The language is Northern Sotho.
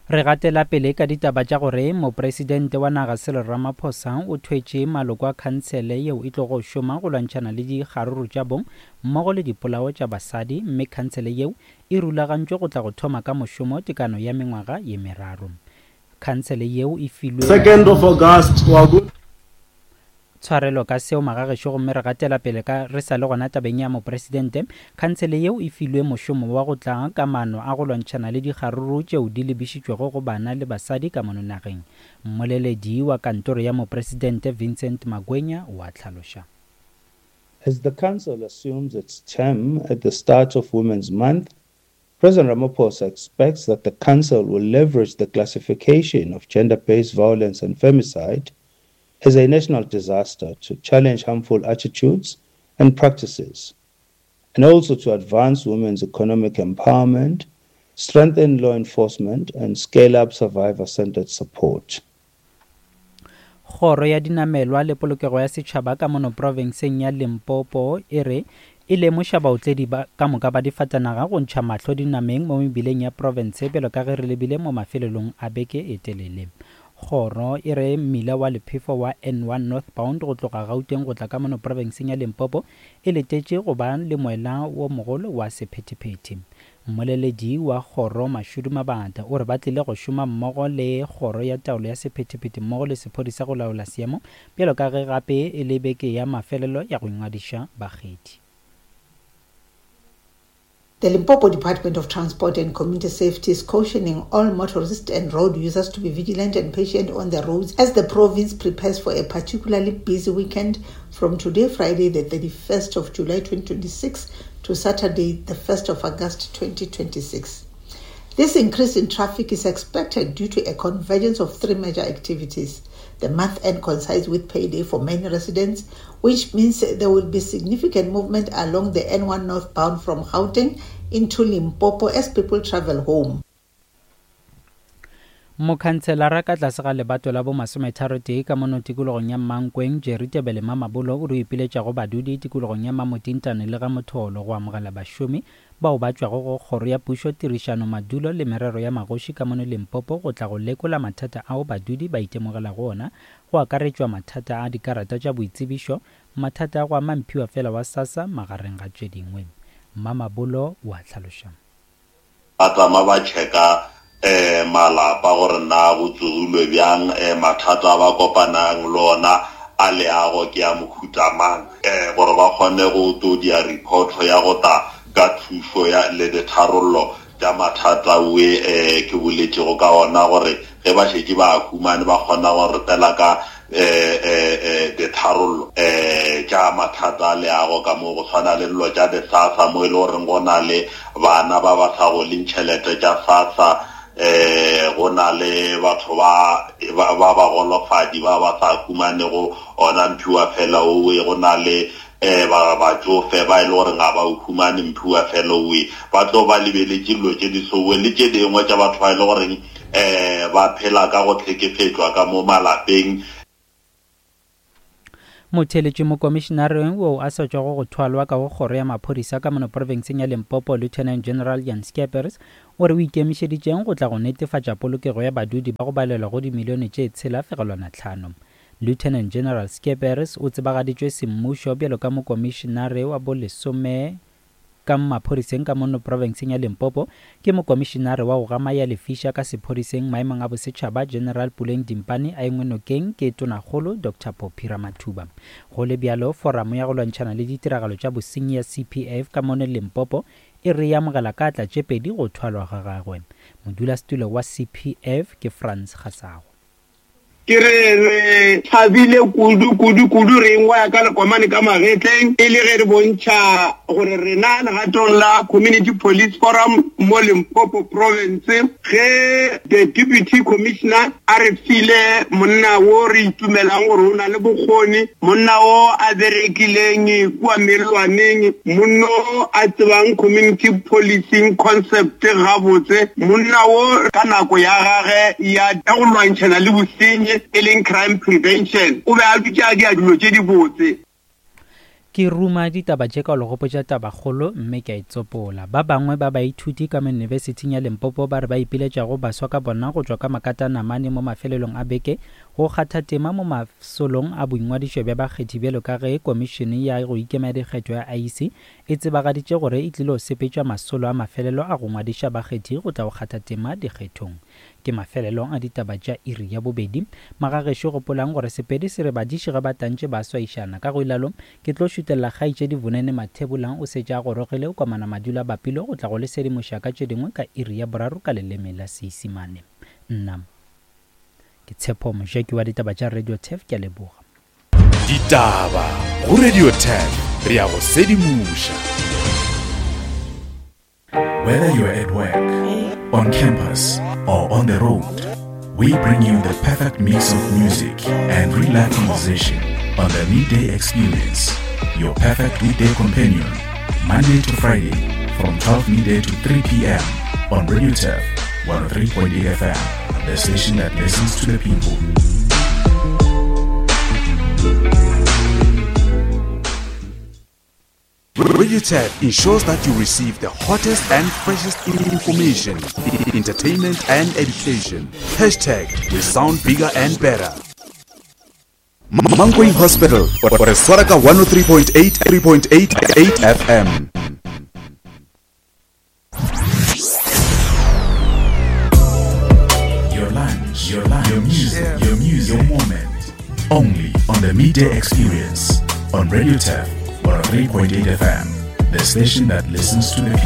Re gatela pele ka ditaba tša gore Mopresidente wa naga Cyril Ramaphosa o thwetše maloko a khansele yeo e tlogo šoma go lwantšhana le dikgaruru tša bong mmogo le dipolao tša basadi mme khansele yeo e rulagantšwe go tla go thoma ka mošomo tekano ya mengwaga ye meraro. Khansele yeo e filwe 2nd of August wa go. Tshwarelo ka seo magagešo gomme re gatela pele ka re sa le gona tabeng ya Mopresidente. Khansele yeo e filwe mošomo wa go tla ka maano a go lwantšhana le dikgaruru tšeo di lebišitšwego go bana le basadi ka mono nageng. Mmoleledi wa kantoro ya Mopresidente Vincent Magwenya o a hlaloša. As the council assumes its term at the start of Women's Month, President Ramaphosa expects that the council will leverage the classification of gender-based violence and femicide as a national disaster to challenge harmful attitudes and practices, and also to advance women's economic empowerment, strengthen law enforcement, and scale up survivor-centered support. Kgoro ya Dinamelwa le Polokego ya Setšhaba ka mono profenseng ya Limpopo e re e lemoša baotledi ba ka moka ba difatanaga go ntšha mahlo dinameng mo mebileng ya profense bjalo ka ge re lebile mo mafelelong a beke e telele. Kgoro e re mmila wa lephefo wa N1 northbound go tloga Gauteng go tla ka mono profenseng ya Limpopo e letetše go ba le moela wo mogolo wa sephethephethe. Mmoleledi wa kgoro Mashudu Mabata o re ba tlile go šoma mmogo le kgoro ya taolo ya sephethephethe mmogo le sephodisa go laola seemo bjalo ka ge gape e le beke ya mafelelo ya go ingwadiša bakgethi. The Limpopo Department of Transport and Community Safety is cautioning all motorists and road users to be vigilant and patient on the roads as the province prepares for a particularly busy weekend from today, Friday, the 31st of July 2026, to Saturday, the 1st of August 2026. This increase in traffic is expected due to a convergence of three major activities. The month end coincides with payday for many residents, which means there will be significant movement along the N1 northbound from Gauteng into Limpopo as people travel home. Mokhanselara ka tlase ga lebato la bomasometharotee ka mono tikologong ya Mankweng, Jerry Tebele Mamabolo o re o ipiletša go badudi tikologong ya Mamotintane le ga Motholo go amogela bašomi bao ba tšwago go Kgoro ya Pušo, Tirišano, Madulo le Merero ya Magoši ka mono Limpopo go tla go lekola mathata ao badudi ba itemogelago ona go akaretšwa mathata a dikarata tša boitsebišo, mathata a go ama mphiwafela wa SASSA magareng ga tše dingwe. Mamabolo o a hlaloša. Ba tama ba checka um malapa gore na go tsogilwe bjang, um mathata a ba kopanang le ona a leago ke a mohuta mang, um gore ba kgone go to dia report ya go ta ka thušo ya le ditharollo tša mathata we um ke boletšego ka ona gore ge ba šetše ba a humane ba kgona go re tela ka ditharollo tša mathata a leago ka mo go swana le dilo tša di-SASSA mo e le goreng go na le bana ba ba sa goleng tšhelete tša SASSA um go na le batho ba ba bagolofadi ba ba sa humanego ona mphiwafela owe go na le um ba batšofe ba e le goreng ga ba o humane mphiwafela owe ba tlo ba lebeletše dilo tše di sowe le tše dingwe tša batho ba e le goreng um ba phela ka go hlekefetšwa ka mo malapeng. Motheeletši Mokomišinare wo a sa tšwago go thwalwa ka go Kgoro ya Maphodisa ka mono profenseng ya Limpopo Lieutenant General Jan Scheepers o re o ikemišeditšeng go tla go netefatša polokego ya badudi ba go balelwa go dimilione tše 7,5. Lieutenant General Scheepers o tsebagaditšwe semmušo bjalo ka Mokomišinare wa bolesome Ka maphodiseng ka mono profenseng ya Limpopo ke mokomišinare wa go gama ya lefiša ka sephodiseng maemong a bosetšhaba General Puleng Dimpane a engwe nokeng ke Tonakgolo Doctor Phophi Ramathuba. Go le bjalo, foramo ya go lwantšhana le ditiragalo tša bosenyi ya CPF ka mono Limpopo e re e amogela ka atla tše pedi go thwalwa ga gagwe. Modulasetulo wa CPF ke Frans Gasago. Ke re re thabile kudu, kudu, kudu re engwaya ka lekomane ka magetleng e le ge re bontšha gore rena legatong la Community Police Forum mo Limpopo Province ge the Deputy Commissioner a re file monna wo re itumelang gore o na le bokgoni, monna wo a berekileng kua mellwaneng, monna wo a tsebang community policing concept gabotse, monna wo ka nako ya gage ya go lwantšhana le bosenyi e leng crime prevention o be a dutše a dia dilo tše dibotse. Ke ruma ditaba tše ka go le gopotša tabakgolo mme ke a e tsopola. Ba bangwe ba baithuti ka mo Yunibesithing ya Limpopo ba re ba ipiletša go baswa ka bona go tšwa ka makatanamane mo mafelelong a beke go kgatha tema mo masolong a boingwadišo bja bakgethi bjalo ka ge Komišene ya go Ikema ya Dikgetho ya IEC e tsebagaditše gore e tlilo sepetša masolo a mafelelo a go ngwadiša bakgethi go tla go kgatha tema dikgethong. Ke mafelelo a ditaba tša iri ya bobedi. Magagešo gopolang gore Sepedi se re badiši ge ba tantše ba swaišana. Ka go ilalo, ke tlo šutelela kgaetšedi Vunene Mathebula o setše a gorogile o komana madula a bapile go tla go le sedimoša ka tše dingwe ka iri ya boraro ka leleme la Seisimane. Nna ke Tshepo Mojaki wa ditaba tša Radio Turf ke a leboga. Ditaba go Radio Turf re ya go sedimoša. Whether you're at work, on campus, or on the road, we bring you the perfect mix of music and real life conversation on the Midday Experience, your perfect weekday companion, Monday to Friday from 12 midday to 3 p.m. on Radio Turf 103.8 FM, the station that listens to the people. RadioTap ensures that you receive the hottest and freshest information, entertainment and education. Hashtag we sound bigger and better. Mankweng Hospital or swara ka 103.8 3.8 FM. Your lunch, your lunch, your music, your music, your moment. Only on the Midday Experience on Radio Turf 103.8 FM, the station that listens to the people.